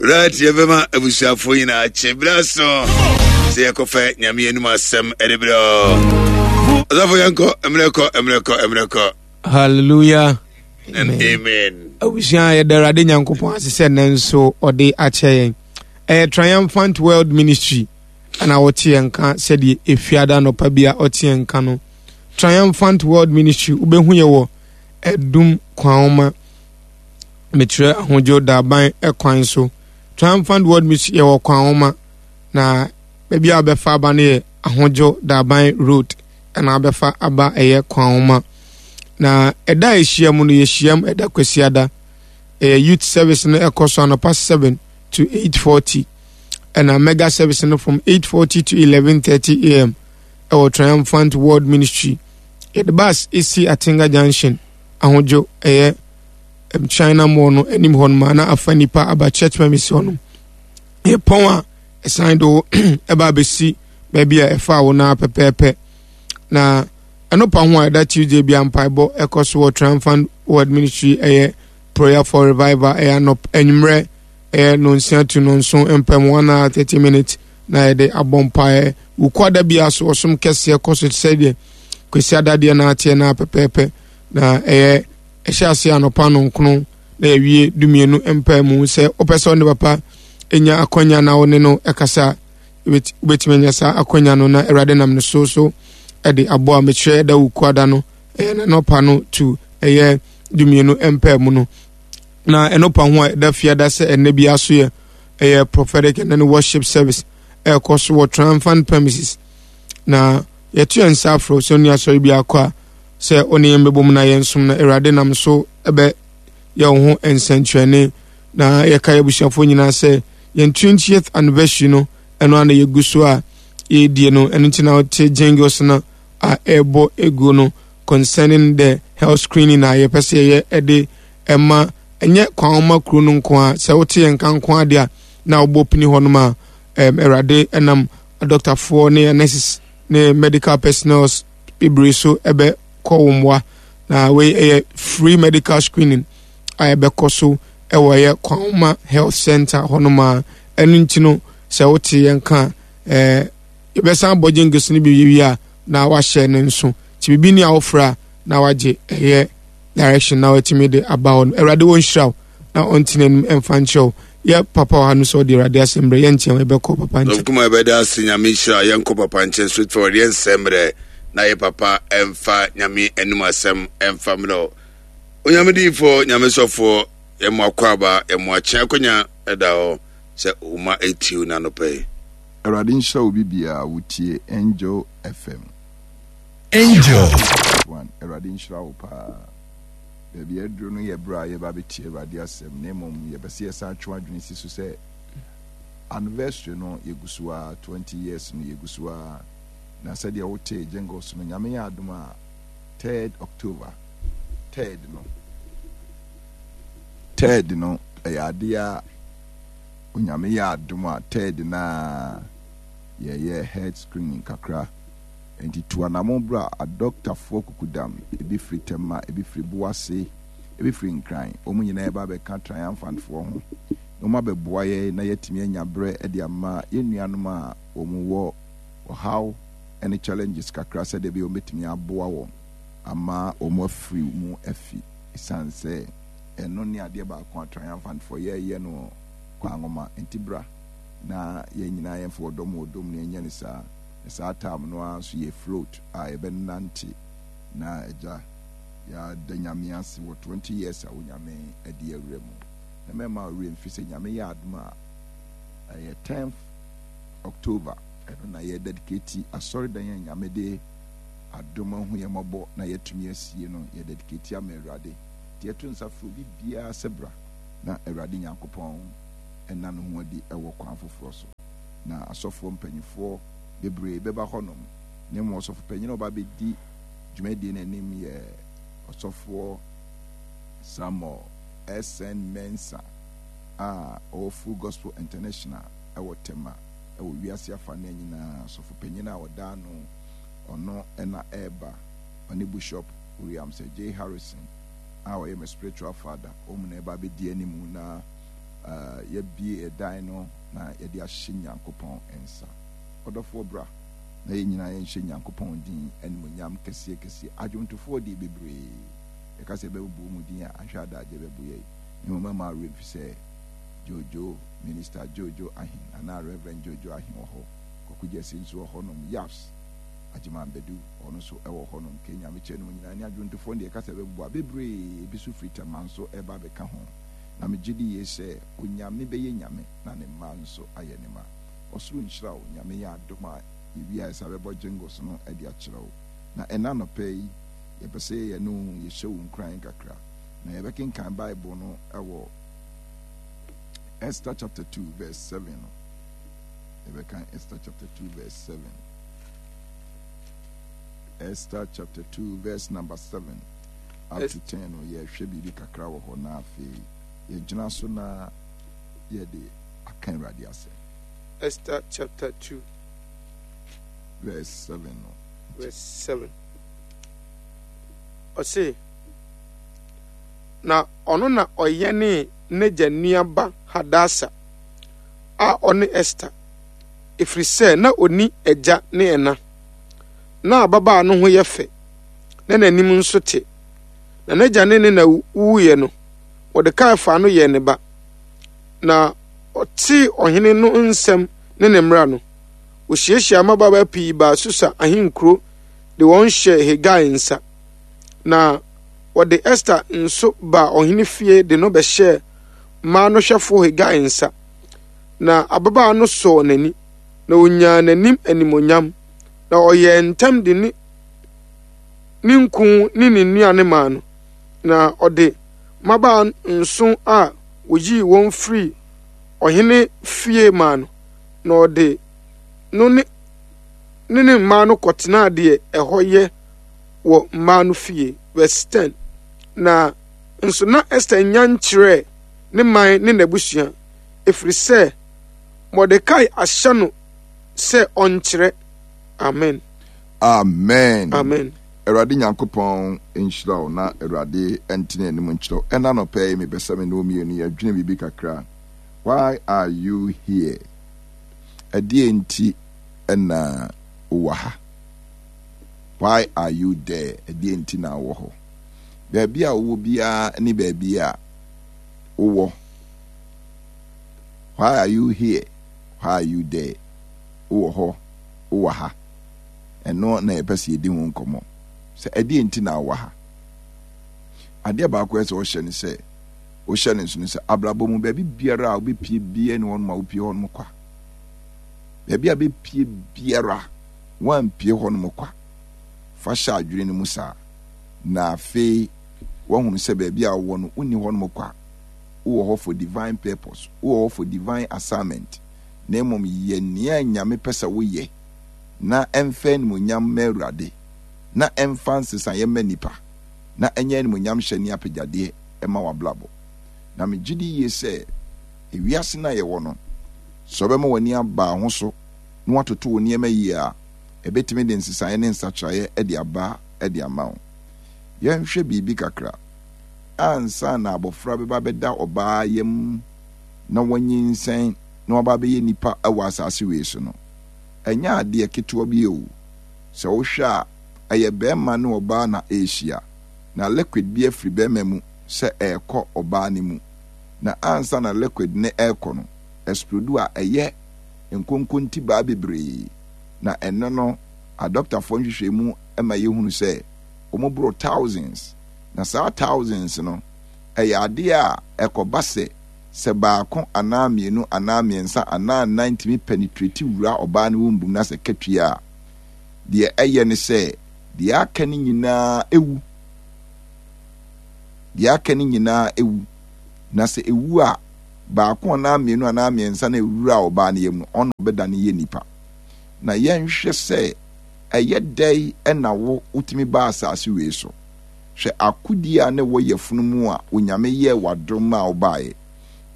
Right, yɛbɛma abusuafoɔ nyinaa kye berɛ so sɛ yɛkɔfɛ Nyame anim asɛm ɛde berɛ. Ɔsɔfo yɛnkɔ, mmerɛ kɔ, mmerɛ kɔ, mmerɛ kɔ. Hallelujah. And amen. Abusua yɛda Awurade Nyankopɔn ase sɛ nnɛ nso ɔde akyɛ yɛn. Ɛyɛ Triumphant World Ministry ɛna wɔte yɛn nka sɛdeɛ efiada anɔpa bi a ɔte yɛn nka no. Triumphant World Ministry wobɛhu yɛ wɔ Ɛdum Kwanoma mekyerɛ Ahodwo Daban ɛkwan so. Triumphant World Ministry yɛwɔ Kwanoma na baabi a wobɛfa aba no yɛ Ahodwo Daban Road ɛna wobɛfa aba ɛyɛ Kwanoma. Na ɛda a yɛhyia mu no yɛhyiam ɛda Kwasiada. Ɛyɛ youth service no ɛkɔ so anɔpa 7 to 8:40 ɛna mega service no from 8:40 to 11:30 am ɛwɔ Triumphant World Ministry. Yɛde bus esi Atenga Junction ahodwo ɛyɛ China Mall no anim hɔ nom na afa nipa aba church premise hɔ nom. Yɛpɔn a ɛsan do ɛba abɛsi baabi a ɛfa wo na pɛpɛɛpɛ. Na ɛno pa ho a ɛda Tuesday bia mpaebɔ ɛkɔ so wɔ Triumphant World Ministry ɛyɛ prayer for revival ɛyɛ anɔp anwummerɛ ɛyɛ nonsia to nonson mpam 1 hour 30 minutes na yɛde abɔ mpaeɛ. Wukuada biara so ɔsom kɛseɛ kɔ so te sɛ deɛ Kwasi adadeɛ no ateɛ no pɛpɛɛpɛ na ɛyɛ ɛhyɛ aseɛ anɔpa nonkono na yɛwie dumienu mpae mu. Sɛ wopɛ sɛ ɔne papa nya akwanya na wo ne no ɛkasa, wobɛtumi anya saa akwanya no na Awurade nam no so so ɛde aboa. Mekyerɛ ɛda Wukuada no ɛyɛ n'anɔpa no to ɛyɛ dumienu mpae mu no. Na ɛno pa ho a ɛda fiada sɛ ɛnɛ bi aso yɛ ɛyɛ prophetic and then worship service ɛrekɔ so wɔ Triumphant premises. Na yɛto yɛn nsa afrɛ sɛ ɔne asɔre bi akɔ a sɛ ɔne yɛn bɛbɔ mu na yɛn som na Awurade nam so ɛbɛ yɛ wo ho nsɛnkyerɛnne. Na yɛka yɛ abusuafoɔ nyinaa sɛ yɛn 20th anniversary no ɛno ana yɛgu so a yɛredie no. Ɛno nti na wote jingles no a ɛrebɔ egu no concerning the health screening a yɛpɛ sɛ yɛyɛ ɛde ɛma ɛnyɛ kwan ma kuro no nko a. Sɛ wote yɛn nka nko adeɛ a na wobɔ pini hɔnom a Awurade ɛnam adɔktafoɔ ne nurses ne medical personnel bebree so ɛbɛkɔ wo mmoa. Na wei ɛyɛ free medical screening a ɛbɛkɔ so ɛwɔ ɛyɛ Kwanwoma Health Center hɔnom a. Ɛno nti no sɛ wote yɛn ka yɛbɛsan abɔ jingles no bi wie a na wahyɛ ne nso nti biribi ni a wofrɛ a na wagye ɛyɛ direction na watumi de aba hɔ no. Awurade wɔnhyira wo na ɔnte n'anim ɛmfa nkyerɛ wo. Yɛ papa wɔ ha no sɛ ɔde Awurade asɛm berɛ yɛnkyɛn yɛbɛkɔ papa nkyɛn. Kuma yɛbɛda ase Nyame nhyira yɛnkɔ papa nkyɛn straight forward yɛnsɛ mmerɛ na yɛ papa ɛmfa Nyame anim asɛm ɛmfa mmerɛ Onyame diyifoɔ Nyame sɔfoɔ yɛmo akɔ aba yɛmo akye akonya ɛda hɔ sɛ woma ɛtiw na anɔpa yi. Awurade nhyira wo bibia wotie Angel FM. Angel. One, Awurade nhyira wo paa. Baabi a aduru no yɛ berɛ a yɛba abɛtie Awurade asɛm, na mmom yɛpɛ sɛ yɛsan twe adwene si so sɛ anniversary no yɛgu so ara, 20 years no yɛgu so ara, na sɛdeɛ wotee jingles no, Nyame yɛ adom a 3rd October, 3rd no, 3rd no ɛyɛ adeɛ a Onyame yɛ adom a 3rd no a yɛyɛ head screening kakra. Enti tu anamon bra adɔktafoɔ kukudam, ebi firi Tema, ebi firi Boase, ebi firi Nkran, wɔn nyinaa reba abɛka Triumphantfoɔ ho, na wɔabɛboa yɛn na yɛatumi anya berɛ de ama yɛn nuanom a wɔwɔ ɔhaw ne challenges kakra sɛdeɛ ɛbɛyɛ wɔbɛtumi aboa wɔn ama wɔn afiri mu afi, ɛsiane sɛ ɛno ne adeɛ baako a Triumphantfoɔ yɛyɛ no Kwanwoma. Enti bra na yɛn nyinaa yɛmfa ɔdɔ mu ɔdɔ mu na yɛnyɛ no saa. Na saa time no ara nso yɛ float a yɛbɛnante na agya yɛada Nyame ase wɔ 20 years a Onyame adi awura mu. Na mɛma wo werɛ mfi sɛ Nyame yɛ adom a ɛyɛ 10th October ɛno na yɛ dedicate asɔredan a Nyame de adom ahu yɛn mmɔbɔ na yɛatumi asie no, yɛ dedicate ama Awurade. Nti yɛto nsa frɛ obi biara sɛ bra na Awurade Nyankopɔn nna ne ho adi wɔ kwan foforɔ so. Na asɔfoɔ mpanimfoɔ bebree bɛba hɔnom, na mmom ɔsɔfopanyin a ɔba abɛdi dwumadie no anim yɛ Ɔsɔfoɔ Samuel S.N. Mensah a ɔwɔ Full Gospel International wɔ Tema wɔ wiase afanaa nyinaa. Ɔsɔfopanyin a ɔda ano, ɔno na ɛreba, ɔne Bishop William Sir J. Harrison a ɔyɛ me spiritual father, wɔn na ɛreba abɛdi anim na. yɛabue ɛdan no na yɛde ahyɛ Nyankopɔn nsa. Ɔdɔfoɔ bra na yɛn nyinaa yɛnhyɛ Nyankopɔn din animuonyam kɛseɛ kɛseɛ. Adwomtofoɔ deɛ bebree, yɛka sɛ yɛbɛbobɔ wɔn din a, anhwɛ adagyeɛ bɛbo yɛn. Na mmom mɛma wo werɛ mfi sɛ Jojo, Minister Jojo Ahen anaa Rev. Jojo Ahen wɔ hɔ, Kwaku Gyasi nso wɔ hɔnom, Yaps Agyeman Badu, ɔno nso wɔ hɔnom, Kay Nyamekyɛ nom nyinaa ne adwontofoɔ no deɛ yɛka sɛ yɛbɛbobɔ a, bebree, ebi nso firi Tema nso reba abɛka ho. Na megye di yie sɛ Onyame bɛyɛ Nyame na ne mma nso ayɛ ne mma. Ɔsoro nhyira wo. Nyame yɛ adom a yɛwie a yɛsan bɛbɔ jingles no de akyerɛ wo. Na ɛnnɛ anɔpa yi yɛpɛ sɛ yɛne wo yɛhyɛ wo nkuran kakra. Na yɛbɛkenkan Bible no wɔ Esther chapter 2 verse 7 no. Yɛbɛkan Esther chapter 2 verse 7. Esther chapter 2 verse number 7 up to 10 no yɛhwɛ biribi kakra wɔ hɔ na afei yɛgyina so na yɛde aka Awurade asɛm. Esther chapter 2 verse 7 no. Verse 7. Ɔse, na ɔno na ɔyɛnee n'agya nua ba Hadasa a ɔne Esther, ɛfiri sɛ na ɔnni agya ne ɛna. Na ababaa no ho yɛ fɛ, na n'anim nso te. Na n'agya ne ne na wuiɛ no, Mordekai faa no yɛɛ ne ba. Na ɔtee ɔhene no nsɛm ne ne mmara no, ɔhyiahyiaa mmabaawa pii baa Susa ahenkuro de wɔn hyɛɛ Hegai nsa. Na wɔde Ester nso baa ɔhene fie de no bɛhyɛɛ mmaa no hwɛfoɔ Hegai nsa. Na ababaa no sɔɔ n'ani, na ɔnyaa n'anim animuonyam, na ɔyɛɛ ntɛm de ne ne nku ne ne nnuane maa no. Na ɔde mmabaa nson a woyii wɔn firii ɔhene fie maa no, na ɔde no ne ne ne mmaa no kɔtenaa deɛ ɛhɔ yɛ wɔ mmaa no fie. Verse 10. Na nso na Ester nnya nkyerɛɛ ne man ne n'abusua, ɛfiri sɛ Mordekai ahyɛ no sɛ ɔnkyerɛ. Amen. Amen. Amen. Awurade Nyankopɔn nhyira wo na Awurade ntene anim nkyerɛ wo. Ɛna anɔpa yi mepɛ sɛ me ne wo mmienu yɛdwene biribi kakra. Why are you here? Ɛdeɛ nti na wowɔ ha? Why are you there? Ɛdeɛ nti na wowɔ hɔ? Baabi a wowɔ biara ne baabi a wowɔ. Why are you here? Why are you there? Wowɔ hɔ, wowɔ ha. Ɛno na yɛpɛ sɛ yɛdi ho nkɔmmɔ. Sɛ ɛdeɛn nti na wowɔ ha? Adeɛ baako a ɛsɛ ɔhyɛ ne sɛ, wohyɛ no nso no sɛ abrabɔ mu baabi biara a wobɛpie biara ni hɔnom a wopie hɔnom kwa. Baabi a bɛpie biara, woampie hɔnom kwa. Fa hyɛ adwene no mu saa. Na afei woahunu sɛ baabi a wowɔ no, wonni hɔnom kwa. Wowɔ hɔ for divine purpose. Wowɔ hɔ for divine assignment. Na mmom yɛ nea Nyame pɛ sɛ woyɛ na ɛmfa animuonyam mma Awurade, na ɛmfa nsesaeɛ mma nnipa, na ɛnyɛ animuonyamhyɛ ne apɛgyadeɛ mma w'abrabɔ. Na megye di yie sɛ, ewiase no a yɛwɔ no, sɛ wobɛma w'ani aba wo ho so na woatoto wo nneɛma yie a, ɛbɛtumi de nsesaeɛ ne nsakyeraeɛ de aba de ama wo. Yɛnhwɛ biribi kakra. Ansa na abɔfra bɛba abɛda ɔbaa yam na wanyinsɛn na waba abɛyɛ nipa wɔ asase wei so no, ɛnyɛ adeɛ ketewa bi o. Sɛ wohwɛ a, ɛyɛ barima ne ɔbaa na ɛrehyia, na liquid bi afiri barima mu sɛ ɛrekɔ ɔbaa no mu. Na ansa na liquid no rekɔ no, ɛsplodu a, ɛyɛ nkonkontibaa bebree. Na ɛno no, adɔktafoɔ nhwehwɛmu ma yɛhunu sɛ wɔboro thousands. Na saa thousands no, ɛyɛ adeɛ a ɛkɔba sɛ Sɛ baako anaa mmienu anaa mmiɛnsa anaa nnan tumi penetrate wura ɔbaa no womb mu na sɛ ɛka twi a, deɛ ɛyɛ ne sɛ deɛ aka no nyinaa wu. Deɛ aka no nyinaa wu. Na sɛ ɛwu a, baako anaa mmienu anaa mmiɛnsa na ɛwura ɔbaa no yam no, ɔno ɔbɛdane yɛ nipa. Na yɛnhwɛ sɛ ɛyɛ dɛn na wo wotumi baa asase wei so. Hwɛ akodie a na ɛwɔ yafunu mu a Onyame yɛɛ wo adom maa wo baeɛ.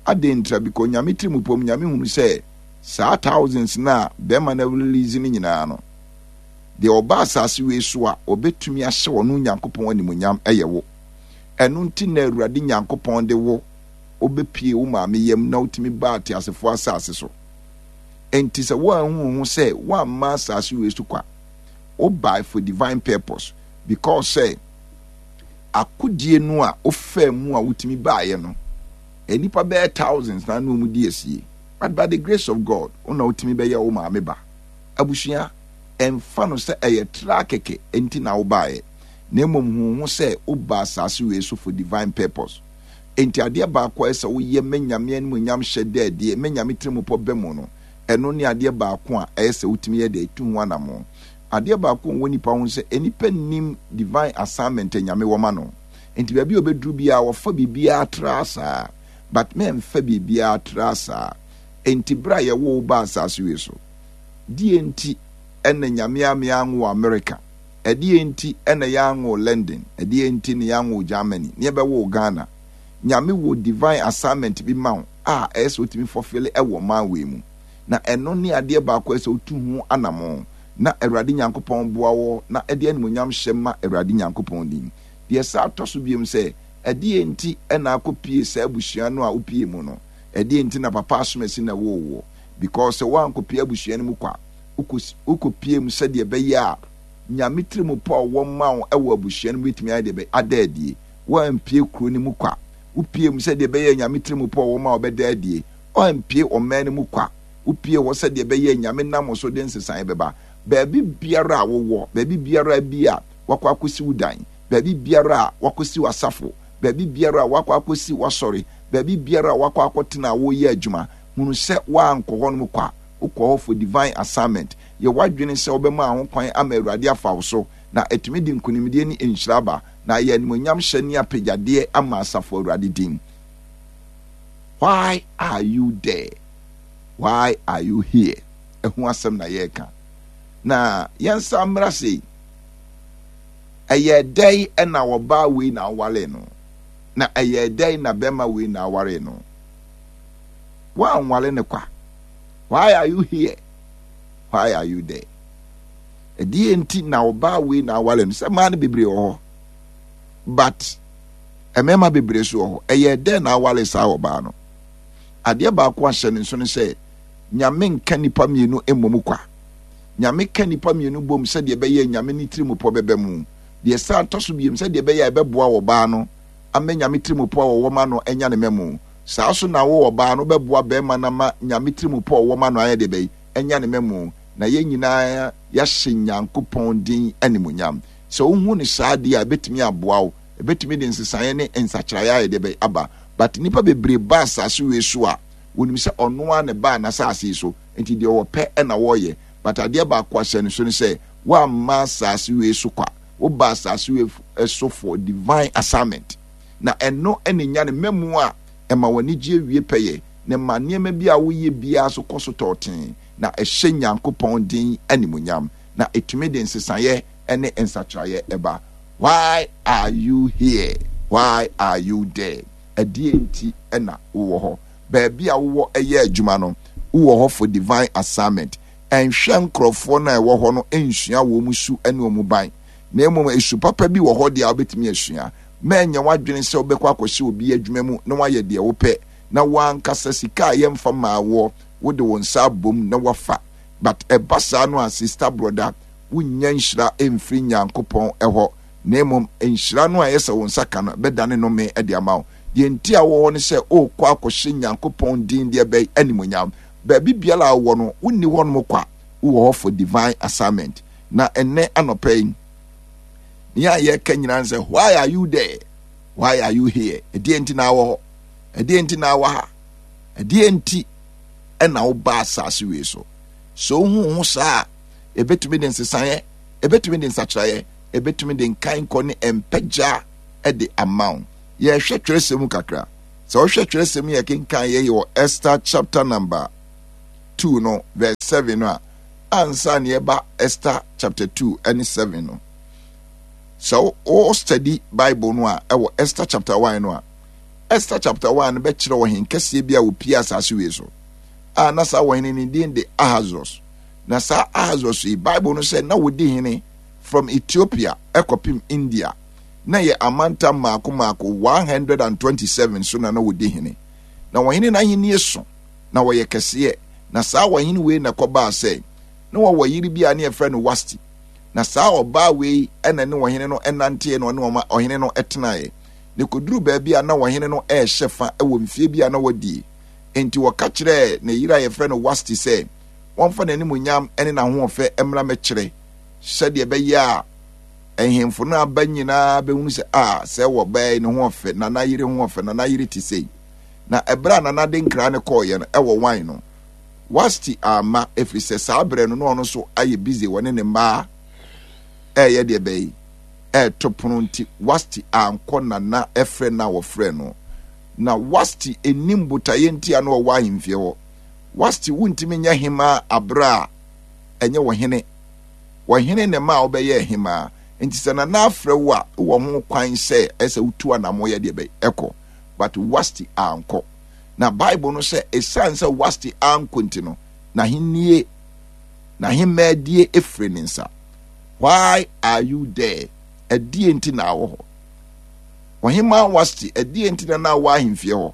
Adɛn ntira? Because Onyame tirimupɔ mu Nyame hunu sɛ saa thousands no a bɛɛma no release no nyinaa no, deɛ ɔba asase wei so a ɔbɛtumi ahyɛ ɔno Nyankopɔn animuonyam yɛ wo. Ɛno nti na Awurade Nyankopɔn de wo. wobɛpie wo maame yam na wotumi baa ateasefoɔ asase so. Enti sɛ woanhu wo ho sɛ woamma asase wei so kwa, wobae for divine purpose because sɛ akodie no a wofaa mu a wotumi baeɛ no, nnipa bɛyɛ thousands na ne wɔn di asie. But by the grace of God, wo na wotumi bɛyɛ wo maame ba. Abusua, ɛmfa no sɛ ɛyɛ tra kɛkɛ nti na wobaeɛ, na mmom hu wo ho sɛ wobaa asase wei so for divine purpose. Enti adeɛ baako a ɛsɛ sɛ woyɛ ma Nyame animuonyam hyɛ da adie, ma Nyame tirimupɔ ba mu no, ɛno ne adeɛ baako a ɛyɛ sɛ wotumi yɛ dɛ tu ho anamon. Adeɛ baako a ɛwɔ nipa ho ne sɛ, nnipa nnim divine assignment a Nyame wɔ ma no. Enti baabi a ɔbɛduru biara, wɔfa biribiara tra saa. But mɛmfa biribiara tra saa. Enti berɛ a yɛwoo wo baa asase wei so, deɛ nti na Nyame amme anwo wo America? Ɛdeɛn nti na yɛanwo London? Ɛdeɛn nti na yɛanwo Germany? Na yɛbɛwoo Ghana? Nyame wɔ divine assignment bi ma wo a ɛyɛ sɛ wotumi fulfill ɛwɔ ɔman wei mu. Na ɛno ne adeɛ baako a ɛsɛ sɛ wotu ho anamɔn na Awurade Nyankopɔn boa wo na ɛde animuonyam hyɛ ma Awurade Nyankopɔn din. Deɛ ɛsan tɔ so biom sɛ, ɛdeɛn nti na akɔpie saa abusua no a wopie mu no? Ɛdeɛn nti na papa asomasi na ɛwoo woɔ? Because sɛ woankɔpie abusua no mu kwa, wokɔpie mu sɛdeɛ ɛbɛyɛ a Nyame tirimupɔ a ɔwɔ ma wo wɔ abusua no mu bɛtumi ayɛ deɛ bɛyɛ ada adie. Woampie kuro no mu kwa. Wopie mu sɛdeɛ ɛbɛyɛ a Nyame tirimupɔ a ɔwɔ ma wo bɛda adie. Woampie ɔman no mu kwa. Wopie hɔ sɛdeɛ ɛbɛyɛ a Nyame nam wo so de nsesaeɛ bɛba. Baabi biara a wowɔ, baabi biara bi a wakɔ akɔsi wo dan, baabi biara a wakɔsi w'asafo, baabi biara a wakɔ akɔsi w'asɔre, baabi biara a wakɔ akɔtena a woreyɛ adwuma, hunu sɛ woankɔ hɔnom kwa. Wokɔ hɔ for divine assignment. Yɛ w'adwene sɛ wobɛma ho kwan ama Awurade afa wo so, na atumi de nkonimdie ne nhyira aba, na ayɛ animuonyamhyɛ ne apagyadeɛ ama asafo Awurade din. Why are you there? Why are you here? Ɛho asɛm na yɛreka. Na yɛnsa mmra sei. Ɛyɛ dɛn na ɔbaa wei na awaree no? Na ɛyɛ dɛn na bɛrima wei na awaree no? Woanware no kwa. Why are you here? Why are you there? Ɛdeɛ nti na ɔbaa wei na aware no sɛ mmaa no bebree wɔ hɔ but mmarima bebree so wɔ hɔ. Ɛyɛ dɛn na aware saa ɔbaa no? Adeɛ baako ahyɛ ne nso no sɛ Nyame nka nipa mmienu mmom kwa. Nyame ka nipa mmienu bom sɛdeɛ ɛbɛyɛ Nyame ne tirimupɔ bɛba mu. Deɛ san tɔ so biem sɛdeɛ ɛbɛyɛ a ɛbɛboa ɔbaa no ama Nyame tirimupɔ a ɔwɔ ma no anya ne mmamu. Saa so na wo ɔbaa no wobɛboa bɛɛma no ama Nyame tirimupɔ a ɔwɔ ma no ayɛ deɛ bɛn? Anya ne mmamu, na yɛn nyinaa yɛahyɛ Nyankopɔn din animuonyam. Sɛ wohu no saa deɛ a, ɛbɛtumi aboa wo, ɛbɛtumi de nsesaeɛ ne nsakyeraeɛ ayɛ deɛ bɛn? Aba. But nnipa bebree ba asase wei so a, wɔnim sɛ ɔno ara na ɛbaa n'asase yi so, nti deɛ ɔpɛ na wɔyɛ. But adeɛ baako a hyɛ no so ne sɛ, woamma asase wei so kwa, wobaa asase wei so for divine assignment. Na ɛno na enya ne mmamu a ɛma w'anigyeɛ wie pɛyɛ, na ɛma nneɛma bi a woyɛ biara so kɔ so tɔɔtee, na ɛhyɛ Nyankopɔn din animuonyam, na ɛtumi de nsesaeɛ ne nsakyeraeɛ ba. Why are you here? Why are you there? Ɛdeɛn nti na wowɔ hɔ? Baabi a wowɔ yɛ adwuma no, wowɔ hɔ for divine assignment. Ɛnhwɛ nkorɔfoɔ no a ɛwɔ hɔ no nsua wɔn su ne wɔn ban, na mmom su papa bi wɔ hɔ deɛ a wobɛtumi asua. Mɛnyɛ w'adwene sɛ wobɛkɔ akɔhyɛ obi adwuma mu na woayɛ deɛ wopɛ, na wo ankasa sika a yɛmfa mmaa woɔ, wode wo nsa abom na woafa. But ɛba saa no a, sista, brɔda, wonnya nhyira mfiri Nyankopɔn hɔ, na mmom nhyira no a ɛyɛ sɛ wo nsa ka no, ɛbɛdane nnome de ama wo. Deɛ nti a wowɔ hɔ ne sɛ worekɔ akɔhyɛ Nyankopɔn din deɛ bɛn? Animuonyam. Baabi biara a wowɔ no, wonni hɔnom kwa, wowɔ hɔ for divine assignment. Na ɛnnɛ anɔpa yi, nea yɛreka nyinaa ne sɛ, why are you there? Why are you here? Ɛdeɛ nti na wɔ hɔ? Ɛdeɛ nti na wɔ ha? Ɛdeɛ nti ɛna woba asase wei so? Sɛ wohu ho saa a, ɛbɛtumi de nsesaeɛ, ɛbɛtumi de nsakyeraeɛ, ɛbɛtumi de nkankɔ ne mpagya de ama wo. Yɛhwɛ twerɛsɛm mu kakra. Sɛ wohwɛ twerɛsɛm yɛ kenkan yɛ wɔ Esther chapter number 2 no verse 7 no a, ansa na yɛba Esther chapter 2 ne 7 no, sɛ wo study Bible no a ɛwɔ Esther chapter 1 no a, Esther chapter 1 no bɛkyerɛ ɔhen kɛseɛ bi a wɔpie asase wei so a na saa ɔhene ne din de Ahasuerus. Na saa Ahasuerus yi, Bible no sɛ na wɔdi hene from Ethiopia ɛkɔpem India. Na yɛ amantam mmaako mmaako 127 so na na wɔdi hene. Na ɔhene no ahennie so, na ɔyɛ kɛseɛ. Na saa ɔhene wei na ɛkɔbaa sɛ, na ɔwɔ yere bi a ne yɛfrɛ no Wasti. Na saa ɔbaa wei na ne ɔhene no nanteɛ na ɔne ɔhene no tenaeɛ. Na ɛkɔduruu baabi a na ɔhene no rehyɛ fa wɔ mfeɛ bi a na wadie. Enti ɔka kyerɛɛ ne yere a yɛfrɛ no Wasti sɛ, wɔmfa n'animuonyam ne n'ahoɔfɛ mmra mmɛkyerɛ, sɛdeɛ ɛbɛyɛ a nhemfo no aba nyinaa bɛhunu sɛ, a sɛ wɔbaa yi ne ho ɔfɛ, nana yere ho ɔfɛ, nana yere te sei. Na ɛberɛ a nana de nkra no kɔɔeɛ no, ɛwɔ wan no, Wasti amma, ɛfiri sɛ saa berɛ no na ɔno nso ayɛ busy wɔne ne mmaa ɛreyɛ deɛ bɛyi ɛreto pono nti Wasti ankɔ nana ɛfrɛ no a wɔfrɛ no. Na Wasti nnim botaeɛ nti a na ɔwɔ ahemfie hɔ. Wasti wontumi nyɛ hemaa aberɛ a ɛnyɛ ɔhene. Ɔhene na ɛmaa wobɛyɛɛ hemaa. Nti sɛ nana afrɛ wo a, wowɔ ho kwan sɛ ɛsɛ wotu anamo yɛ deɛ bɛyi ɛkɔ. But Wasti ankɔ. Na Bible no sɛ ɛsiane sɛ Wasti ankɔ nti no, n'ahennie, n'ahemmaadie efiri ne nsa. Why are you there? Ɛdeɛ nti na awɔ hɔ? Ɔhemaa Wasti, ɛdeɛ nti na na awɔ ahemfie hɔ?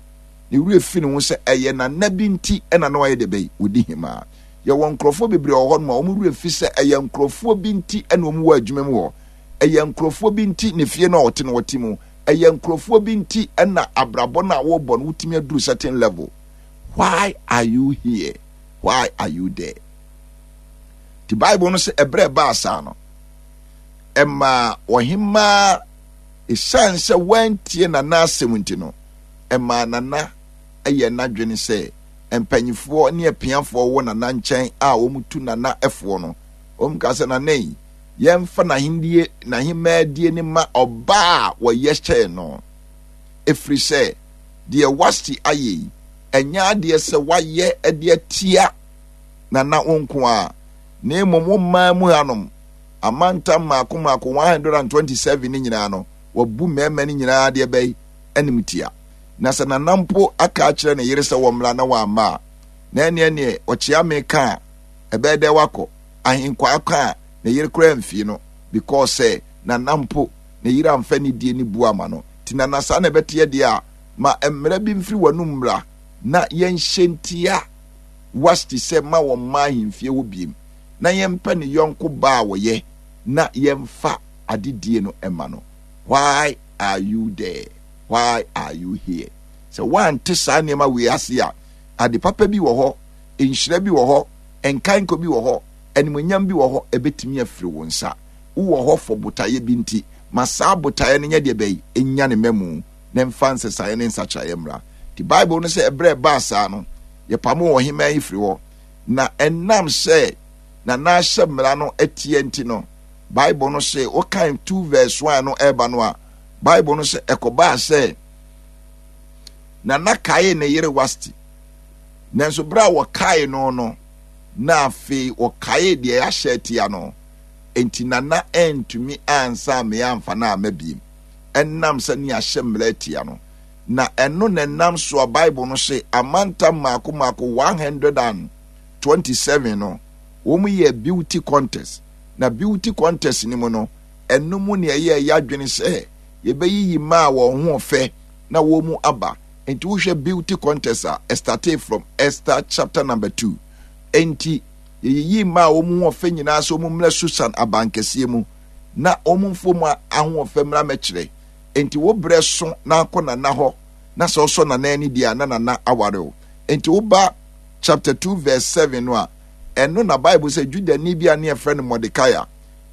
Ne werɛ fi ne ho sɛ ɛyɛ nana bi nti na na ɔyɛ deɛ bɛyi, ɔdi hemaa. Yɛwɔ nkurɔfoɔ bebree wɔ hɔ nom a wɔn werɛ fi sɛ ɛyɛ nkurɔfoɔ bi nti na wɔn wɔ adwuma mu hɔ. Ɛyɛ nkurɔfoɔ bi nti na efie no a ɔte no ɔte mu. Ɛyɛ nkurɔfoɔ bi nti na abrabɔ no a wɔrebɔ no wotumi aduru certain level. Why are you here? Why are you there? Ti Bible no sɛ ɛberɛ ɛbaa saa no, ɛmaa ɔhemaa ɛsiane sɛ wantie nana asɛm nti no, ɛmaa nana yɛ n'adwene sɛ mpanyifoɔ ne apiafoɔ wɔ nana nkyɛn a wɔtu nana foɔ no, wɔn ka sɛ nana yi, yɛmfa n'ahendie n'ahemmaadie no ma ɔbaa a wɔyɛ hyɛɛ no, ɛfiri sɛ deɛ Wasti ayɛ yi, ɛnyɛ adeɛ sɛ wayɛ de atia nana wo nko ara, na mmom wo mmaa mu hanom amantam mmaako mmaako 127 no nyinaa no, wabu mmarima no nyinaa deɛ bɛyi animtia. Na sɛ nana mpo aka akyerɛ ne yere sɛ wɔmmra na wamma a, na ɛneɛ neɛ ɔkyeame ka a, ɛbɛyɛ dɛ wakɔ. Ahenkwaa ka a, ne yere koraa mfii no because sɛ nana mpo ne yere amfa nidie ne buo ama no. Nti nana saa na ɛbɛteɛ deɛ a, ma mmara bi mfiri w'anum mmra na yɛnhyɛ ntia Wasti sɛ ma wɔmma ahemfie hɔ biem na yɛmpɛ ne yɔnko baa a wɔyɛ na yɛmfa adedie no mma no. Why are you there? Why are you here? Sɛ woante saa nneɛma wei ase a, ade papa bi wɔ hɔ, nhyira bi wɔ hɔ, nkaenko bi wɔ hɔ, animuonyam bi wɔ hɔ, ɛbɛtumi afiri wo nsa. Wowɔ hɔ for botaeɛ bi nti, ma saa botaeɛ no nyɛ deɛ bɛyi, ɛnya ne mmamu, na ɛmfa nsesaeɛ ne nsakyeraeɛ mmra. Nti Bible no sɛ ɛberɛ ɛbaa saa no, yɛpamoo ɔhemmaa yi firi hɔ. Na ɛnam sɛ na n'ahyɛ mmara no atia nti no, Bible no se, wokan 2 verse 1 no ɛreba no a, Bible no sɛ ɛkɔbaa sɛ Nana kaee ne yere Wasti. Nanso berɛ a wɔkae no no, na afei wɔkaee deɛ yɛahyɛ atia no. Enti Nana antumi ansa ammea amfa no amma biem, ɛnam sɛ ne yɛahyɛ mmara atia no. Na ɛno na ɛnam so a Bible no se amantam mmaako mmaako 127 no, wɔyɛɛ beauty contest. Na beauty contest no mu no, ɛno mu na ɛyɛɛ yɛadwene sɛ yɛbɛyiyi mmaa a wɔn ho ɔfɛ na wɔn mu aba. Enti wohwɛ beauty contest a, ɛstartee from Esther chapter number 2. Enti yɛyiyii mmaa a wɔn ho ɔfɛ nyinaa sɛ wɔn mmra Susan abankɛseɛ mu na wɔn mfa wɔn ahoɔfɛ mmra mmɛkyerɛ. Enti wo berɛ so na akɔ nana hɔ na sɛ ɔsɔ nana ani deɛ a na nana aware wo. Enti woba chapter 2 verse 7 no a, ɛno na Bible sɛ Judani bi a ne yɛfrɛ no Mordekai a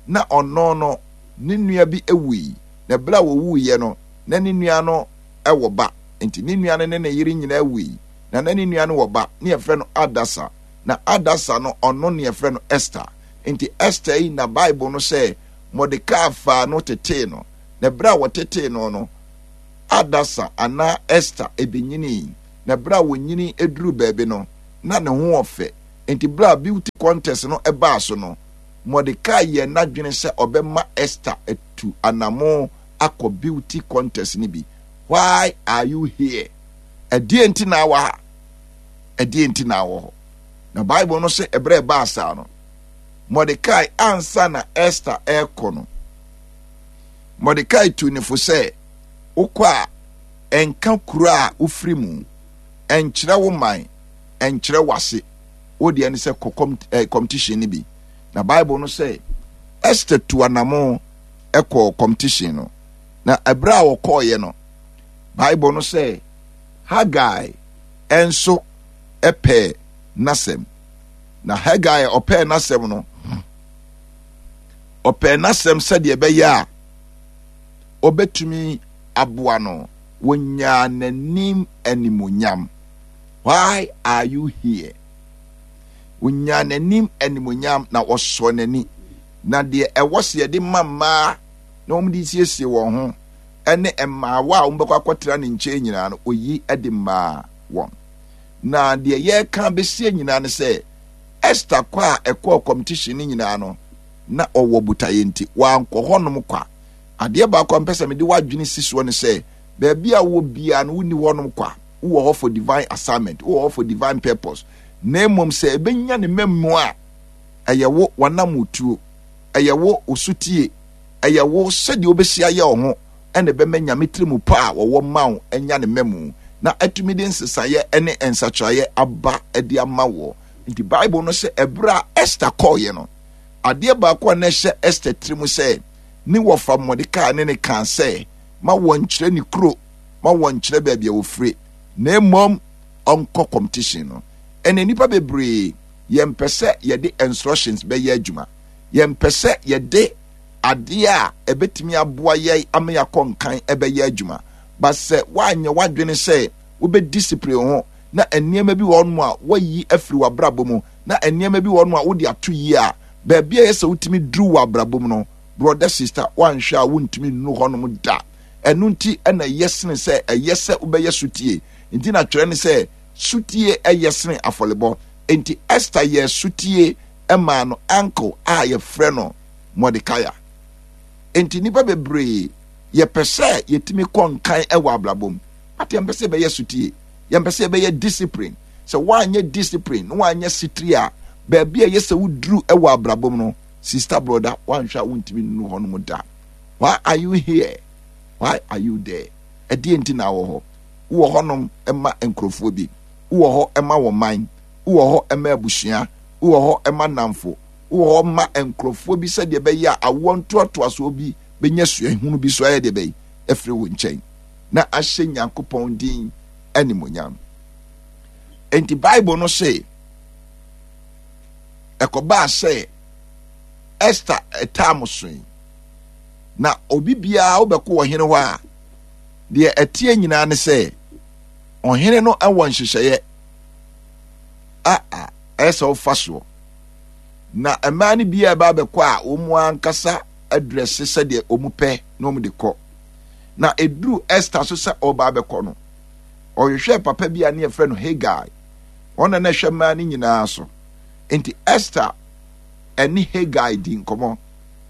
na ɔno no ne nua bi wui, na berɛ a wɔwuiɛ no na ne nua no wɔ ba. Enti ne nua no ne ne yere nyinaa wui, na na ne nua no wɔ ba ne yɛfrɛ no Adasa. Na Adasa no ɔno ne yɛfrɛ no Esther. Enti Esther yi na Bible no sɛ Mordekai faa no tetee no. Na berɛ a wɔtetee no no, Adasa anaa Esther bɛnyinii. Na berɛ a wɔnyini duruu baabi no, na ne ho ɔfɛ. Enti berɛ a beauty contest no baa so no, Mordekai yɛɛ n'adwene sɛ ɔbɛma Esther atu anammɔn akɔ beauty contest no bi. Why are you here? Ɛdeɛn nti na awɔ ha? Ɛdeɛn nti na awɔ hɔ? Na Bible no sɛ ɛberɛ ɛbaa saa no, Mordekai ansa na Esther ɛrekɔ no, Mordekai tuu ne fo sɛ, wokɔ a, ɛnka kuro a wofiri mu. Ɛnkyerɛ wo man, ɛnkyerɛ w'ase. Wo deɛ ne sɛ kɔ eh, competition no bi. Na Bible no sɛ Esther tu anamo kɔɔ competition no. Na ɛberɛ a wɔkɔɔeɛ no, Bible no sɛ Hagai nso pɛɛ n'asɛm. Na Hagai ɔpɛɛ n'asɛm no, ɔpɛɛ n'asɛm sɛdeɛ ɛbɛyɛ a ɔbɛtumi aboa no. Wɔnyaa n'anim animuonyam. Why are you here? Wɔnyaa n'anim animuonyam na wɔsɔɔ n'ani. Na deɛ ɛwɔ sɛ yɛde ma mmaa na wɔde siesie wɔn ho ne mmaawa a wɔbɛkɔ akɔtena ne nkyɛn nyinaa no, oyi de maa wɔn. Na deɛ yɛreka bɛsie nyinaa ne sɛ, Esther kɔ a ɛkɔɔ competition no nyinaa no, na ɔwɔ botaeɛ nti, wankɔ hɔnom kwa. Adeɛ baako a mpɛ sɛ mede w'adwene si soɔ ne sɛ, baabi a wowɔ biara no, wonni hɔnom kwa. Wowɔ hɔ for divine assignment, wowɔ hɔ for divine purpose. Na mmom sɛ ɛbɛnya ne mmamu a, ɛyɛ wo w'anamotuo, ɛyɛ wo wo sotie, ɛyɛ wo sɛdeɛ wobɛsi ayɛ wo ho ɛna ɛbɛma Nyame tirimu pa a wɔwɔ ma wo anya ne mmamu na atumi de nsesaeɛ ne nsakyeraeɛ aba de ama woɔ. Nti Bible no sɛ ɛberɛ a Esther kɔɔeɛ no, adeɛ baako a na ɛhyɛ Esther tirimu sɛ ne wɔfa Mordekai ne ne kaa sɛ ma wɔnkyerɛ ne kuro, ma wɔnkyerɛ baabi a wɔfire, na mmom ɔnkɔ competition no. Ɛnɛ nnipa bebree yɛmpɛ sɛ yɛde instructions bɛyɛ adwuma. Yɛmpɛ sɛ yɛde adeɛ a ɛbɛtumi aboa yɛn ama yɛakɔ nkan ɛbɛyɛ adwuma. But sɛ woanyɛ w'adwene sɛ wobɛ discipline ho na nneɛma bi wɔ hɔnom a woayi afiri w'abrabɔ mu na nneɛma bi wɔ hɔnom a wode ato yie a, baabi a ɛyɛ sɛ wotumi duru wɔ abrabɔ mu no, brɔda sista, woanhwɛ a wontumi nnuru hɔnom da. Ɛno nti na ɛyɛ sene sɛ ɛyɛ sɛ wobɛyɛ sotie. Nti na twerɛ ne sɛ sotie ɛyɛ sene afɔrebɔ. Enti Esther yɛɛ sotie maa no uncle a yɛfrɛ no Mordecai. Enti nnipa bebree yɛpɛ sɛ yɛtumi kɔ nkan wɔ abrabɔ mu, but yɛmpɛ sɛ yɛbɛyɛ sotie, yɛmpɛ sɛ yɛbɛyɛ discipline. Sɛ woanyɛ discipline na woanyɛ sitiri a, baabi a ɛyɛ sɛ woduru wɔ abrabɔ mu no, sister brother, woanhwɛ a wontumi nnuru hɔnom da. Why are you here? Why are you there? Ɛdeɛ nti na wɔ hɔ? Wowɔ hɔnom ma nkurɔfoɔ bi, wowɔ hɔ ma wɔ man, wowɔ hɔ ma abusua, wowɔ hɔ ma nnamfo, wowɔ hɔ ma nkurɔfoɔ bi sɛdeɛ ɛbɛyɛ a awoɔ ntoatoasoɔ bi bɛnya suahunu bi so ayɛ deɛ bɛyi afiri wo nkyɛn na ahyɛ Nyankopɔn din animonyam. Enti Bible no se ɛkɔbaa sɛ Esther ɛtaa mo soe na obi biara wobɛkɔ ɔhene hɔ a deɛ ɛteɛ nyinaa ne sɛ ɔhene no wɔ nhyehyɛeɛ a ɛyɛ sɛ wofa soɔ na mmaa no bi a ɛba abɛkɔ a wɔn ankasa adrɛse sɛdeɛ wɔn pɛ na wɔn de kɔ na eduru Esther so sɛ ɔba abɛkɔ no ɔhwehwɛ papa bi a ne yɛfrɛ no Hegai wɔn na na ɛhwɛ mmaa no nyinaa so nti Esther ɛne Hegai di nkɔmɔ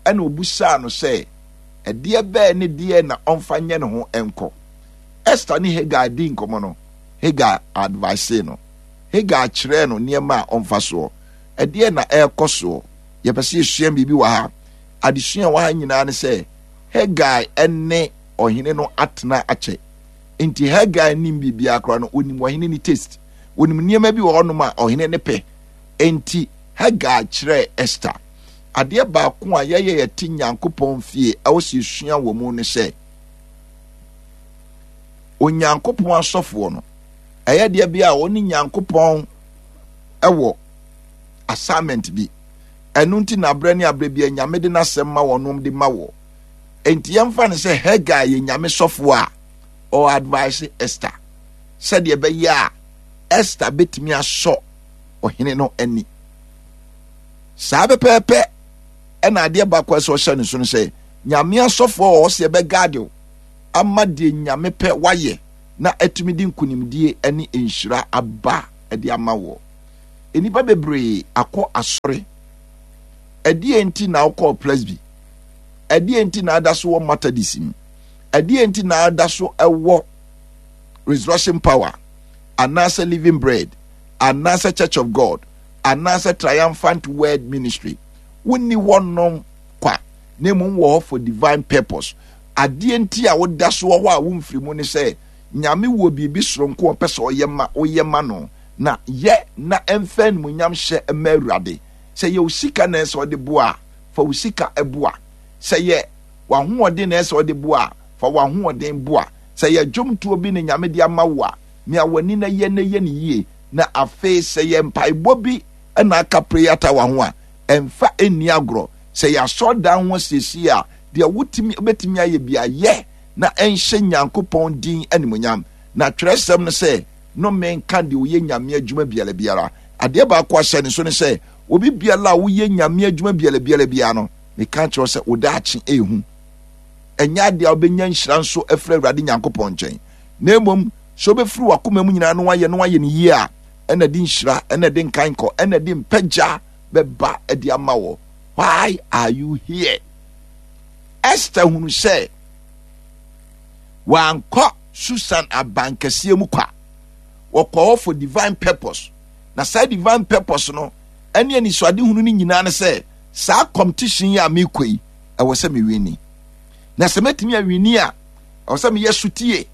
ɛna obusaa no sɛ ɛdeɛ bɛɛ ne deɛ na ɔmfa nyɛ ne ho nkɔ Esther ne Hegai di nkɔmɔ no Hegai advice no Hagar kyerɛɛ no nneɛma a ɔmfa soɔ. Ɛdeɛn na ɛrekɔ soɔ? Yɛpɛ sɛ yɛsua biribi wɔ ha. Adesua wɔ ha nyinaa ne sɛ Hagar ne ɔhene no atena akyɛ. Nti Hagar nim biribiara koraa no, ɔnim ɔhene ne taste. Ɔnim nneɛma bi wɔ hɔnom a ɔhene ne pɛ. Nti Hagar kyerɛɛ Esther. Adeɛ baako a yɛyɛ yɛte Nyankopɔn fie ɛwɔ sɛ yɛsua wɔ mu ne sɛ Onyankopɔn asɔfoɔ no ɛyɛ deɛ bi a wɔne Nyankopɔn wɔ assignment bi. Ɛno nti na aberɛ ne aberɛ bi a Nyame de n'asɛm ma wɔn nom de ma wɔ. Enti yɛmfa no sɛ Hagar yɛ Nyame sɔfoɔ a ɔ advice Esther sɛdeɛ ɛbɛyɛ a Esther bɛtumi asɔ ɔhene no ani. Saa pɛpɛɛpɛ ɛna adeɛ baako a ɛsɛ ɔhyɛ ne so no sɛ Nyame asɔfoɔ wɔ hɔ sɛ yɛbɛgaade wo ama deɛ Nyame pɛ wayɛ na atumi de nkonimdie ne nhyira aba de ama woɔ. Nnipa bebree akɔ asɔre. Ɛdeɛn nti na wokɔɔ Presby? Ɛdeɛn nti na ada so wɔ Methodist mu? Ɛdeɛn nti na ada so wɔ Resurrection Power anaasɛ Living Bread anaasɛ Church of God anaasɛ Triumphant Word Ministry? Wonni hɔnom kwa na mmom wɔ hɔ for divine purpose. Adeɛ nti a woda so wɔ hɔ a womfiri mu ne sɛ. Nyame wɔ biribi soronko a ɔpɛ sɛ ɔyɛ ma woyɛ ma no, na yɛ na ɛmfa animuonyam hyɛ mma Awurade. Sɛ ɛyɛ wo sika na ɛsɛ sɛ ɔde boa a, fa wo sika boa. Sɛ ɛyɛ w'ahoɔden na ɛsɛ sɛ ɔde boa a, fa w'ahoɔden boa. Sɛ ɛyɛ dwomtoɔ bi na Nyame de ama wo a, mia w'ani na yɛ na yɛ no yie. Na afei sɛ ɛyɛ mpaebɔ bi na aka prayer tower ho a, ɛmfa nni agorɔ. Sɛ ɛyɛ asɔredan ho asiesie a, deɛ wotumi wobɛtumi ayɛ biara yɛ na ɛnhyɛ Nyankopɔn din animuonyam. Na twerɛsɛm no sɛ, Nnome nka deɛ ɔyɛ Nyame adwuma biara biara. Adeɛ baako a hyɛ ne so ne sɛ, obi biara a woyɛ Nyame adwuma biara biara biara no, meka kyerɛ wo sɛ wo daakye ɛhu. Ɛnyɛ adeɛ a wobɛnya nhyira nso afiri Awurade Nyankopɔn nkyɛn. Na mmom, sɛ wobɛfiri w'akoma mu nyinaa na woayɛ na woayɛ no yie a, ɛna ɛde nhyira, ɛna ɛde nkankɔ, ɛna ɛde mpagya bɛba de ama wɔ. Why are you here? Esther hunu sɛ wankɔ Susan abankɛseɛ mu kwa. Wɔkɔ hɔ for divine purpose. Na saa divine purpose no ɛne anisoadehunu no nyinaa ne sɛ saa competition yi a mekɔ yi ɛwɔ sɛ mewini. Na sɛ mɛtumi awini a ɛwɔ sɛ meyɛ sotie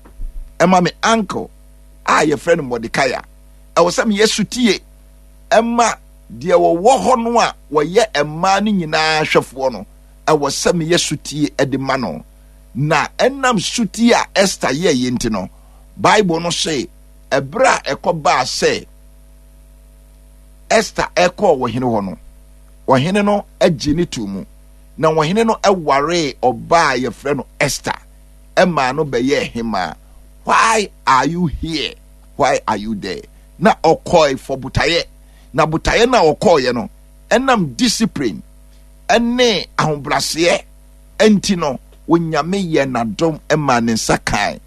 ɛma me uncle a yɛfrɛ no Mordecai. Ɛwɔ sɛ meyɛ sotie ɛma deɛ wɔwɔ hɔ no a wɔyɛ mmaa no nyinaa hwɛfoɔ no. Ɛwɔ sɛ meyɛ sotie de ma no. Na ɛnam sotie a Esther yɛeɛ nti no, Bible no se ɛberɛ a ɛkɔbaa sɛ Esther ɛkɔɔ ɔhene hɔ no, ɔhene no gye ne too mu. Na ɔhene no waree ɔbaa a yɛfrɛ no Esther ɛmaa no bɛyɛɛ hemaa. Why are you here? Why are you there? Na ɔkɔe for botaeɛ. Na botaeɛ no a ɔkɔeɛ no, ɛnam discipline ne ahobraseɛ nti no, Onyame yɛɛ n'adom maa ne nsa kae,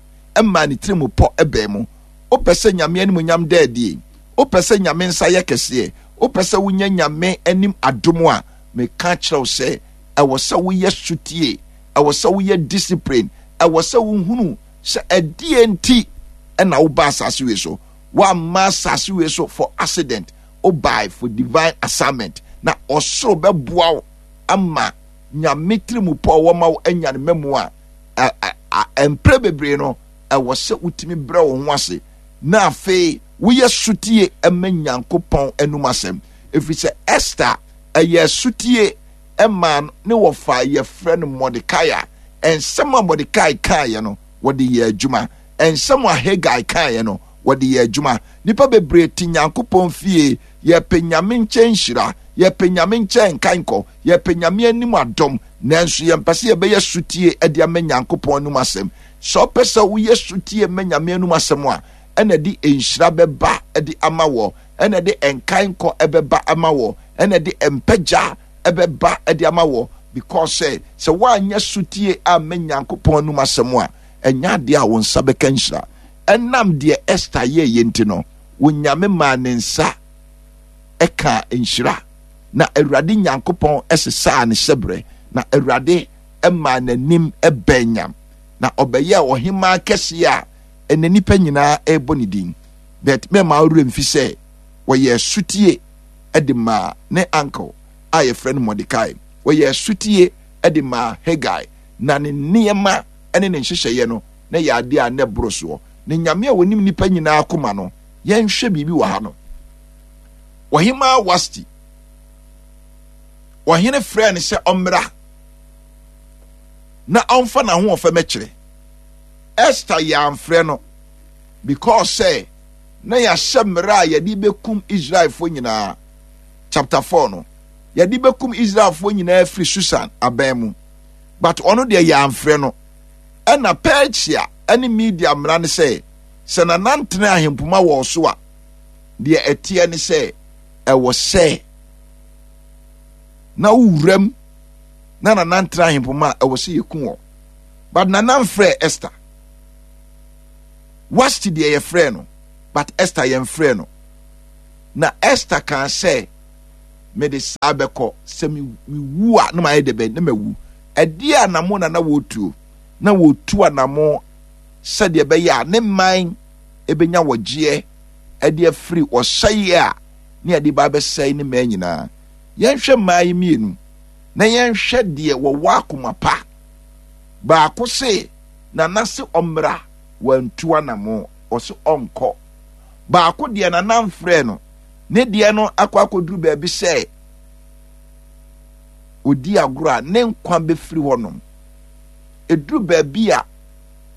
maa ne tirim pɔ baa mu. Wopɛ sɛ Nyame animuonyam da adie? Wopɛ sɛ Nyame nsa yɛ kɛseɛ? Wopɛ sɛ wonya Nyame anim adom a? Meka kyerɛ wo sɛ, ɛwɔ sɛ woyɛ sotie, ɛwɔ sɛ woyɛ discipline, ɛwɔ sɛ wohunu sɛ ɛdeɛ nti na woba asase wei so. Woamma asase wei so for accident, wobae for divine assignment. Na ɔsoro bɛboa wo ama Nyame tirimupɔ a ɔwɔ ma wo anya ne mmamu a, mprɛ bebree no, ɛwɔ sɛ wotumi brɛ wo ho ase na afei woyɛ sotie ma Nyankopɔn anum asɛm. Ɛfiri sɛ Esther ɛyɛ sotie maa ne wɔfa yɛfrɛ no Mordekai a, nsɛm a Mordekai kaeɛ no, wɔde yɛ adwuma. Nsɛm a Hegai kaeɛ no, wɔde yɛ adwuma. Nnipa bebree te Nyankopɔn fie, yɛpɛ Nyame nkyɛn nhyira, yɛpɛ Nyame nkyɛn nkankɔ, yɛpɛ Nyame anim adom, nanso yɛmpɛ sɛ yɛbɛyɛ sotie de ama Nyankopɔn anom asɛm. Sɛ wopɛ sɛ woyɛ sotie ma Nyame anom asɛm a, ɛna de nhyira bɛba de ama wɔ, ɛna de nkankɔ ɛbɛba ama wɔ, ɛna de mpagya ɛbɛba de ama wɔ, because sɛ sɛ woanyɛ sotie amma Nyankopɔn anom asɛm a, ɛnyɛ adeɛ a wo nsa bɛka nhyira. Ɛnam deɛ Esther yɛeɛ nti no, Onyame maa ne nsa ɛkaa nhyira, na Awurade Nyankopɔn sesaa ne hyɛberɛ, na Awurade maa n'anim bɛɛ nyam, na ɔbɛyɛɛ ɔhemaa kɛseɛ a ɛnɛ nnipa nyinaa ɛrebɔ ne din. But mɛma wo werɛ mfi sɛ wɔyɛɛ sotie de maa ne uncle a yɛfrɛ no Mordecai, wɔyɛɛ sotie de maa Hegai, na ne nneɛma ne ne nhyehyɛeɛ no na ɛyɛ adeɛ a na ɛboro soɔ. Na Nyame a ɔnim nnipa nyinaa akoma no, yɛnhwɛ biribi wɔ ha no. Ɔhemaa Wasti, ɔhene frɛɛ no sɛ ɔmmra na ɔmfa n'ahoɔfɛ mɛkyerɛ. Esther yɛ amfrɛ no because sɛ na yɛahyɛ mmerɛ a yɛde bɛkum Israelfoɔ nyinaa. Chapter 4 no, yɛde bɛkum Israelfoɔ nyinaa firi Susan aban mu. But ɔno deɛ yɛ amfrɛ no. Ɛna Persia ne Media mmara ne sɛ, sɛ nanantene ahempoma wɔ so a, deɛ ɛteɛ ne sɛ ɛwɔ sɛ na wowuram na nanantene ahempoma a ɛwɔ sɛ yɛku wɔ. But nana mfrɛ Esther. Wasti deɛ yɛfrɛ no, but Esther yɛmfrɛ no. Na Esther kaa sɛ, mede saa bɛkɔ, sɛ mewu a na mayɛ dɛ bɛn na mawu. Ɛdeɛ anamo na na wɔretuo? Na wɔretu anamo sɛdeɛ ɛbɛyɛ a ne man ɛbɛnya wɔgyeɛ ɛde afiri ɔsɛeɛ a ne yɛde ba abɛsɛe ne mmaa nyinaa. Yɛnhwɛ mmaa yi mmienu na yɛnhwɛ deɛ wɔwɔ akoma pa. Baako se nana se ɔmmra. Wantu anamo, ɔse ɔnkɔ. Baako deɛ nana mfrɛɛ no, ne deɛ no akɔ akɔduru baabi sɛ ɔdi agorɔ a ne nkwa bɛfiri hɔnom. Ɛduru baabi a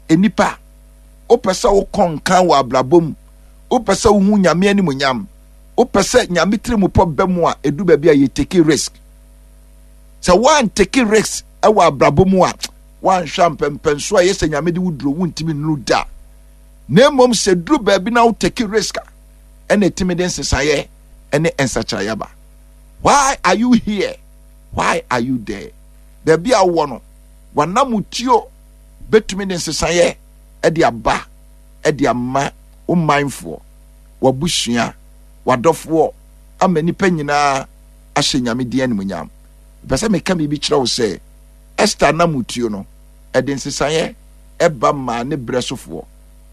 nnipa wopɛ sɛ wokɔ nkan wɔ abrabɔ mu, wopɛ sɛ wohu Nyame animuonyam, wopɛ sɛ Nyame tirimupɔ ba mu a, ɛduru baabi a yɛ take risk. Sɛ woantake risk wɔ abrabɔ mu a, woanhwɛ a mpɛmpɛnso a ɛyɛ sɛ Nyame de wo duro wontumi nnuru da. Na mmom sɛ duru baabi na wo take risk a, ɛna ɛtumi de nsesaeɛ ne nsakyeraeɛ aba. Why are you here? Why are you there? Baabi a wowɔ no, w'anamotuo bɛtumi de nsesaeɛ de aba de ama wo manfoɔ, w'abusua, w'adɔfoɔ, ama nnipa nyinaa ahyɛ Nyame din animuonyam. Mepɛ sɛ meka biribi kyerɛ wo sɛ Esther anamotuo no, ɛde nsesaeɛ ɛba maa ne berɛ sofoɔ.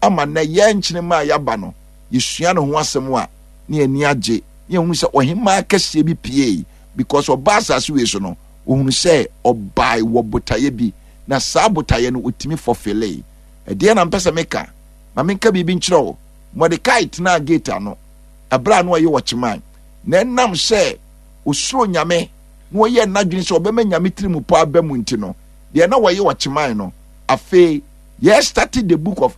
Ama nnɛ yɛn nkyenema a yɛaba no, yɛsua ne ho asɛm a, na yɛn ani agye, na yɛhunu sɛ ɔhemaa kɛseɛ bi piei, because ɔbaa asase wei so no, ɔhunu sɛ ɔbae wɔ botaeɛ bi, na saa botaeɛ no ɔtumi fɔfilei. Ɛdeɛn na mpɛ sɛ meka? Ma menka biribi nkyerɛ wo. Mordekai tenaa gate ano, ɛberɛ a na ɔyɛ ɔkyeman, na ɛnam sɛ ɔsuro Nyame na ɔyɛɛ n'adwene sɛ ɔbɛma Nyame tirimupɔ aba mu nti no, deɛ na ɔyɛ ɔkyeman no, afei yɛrestate the book of.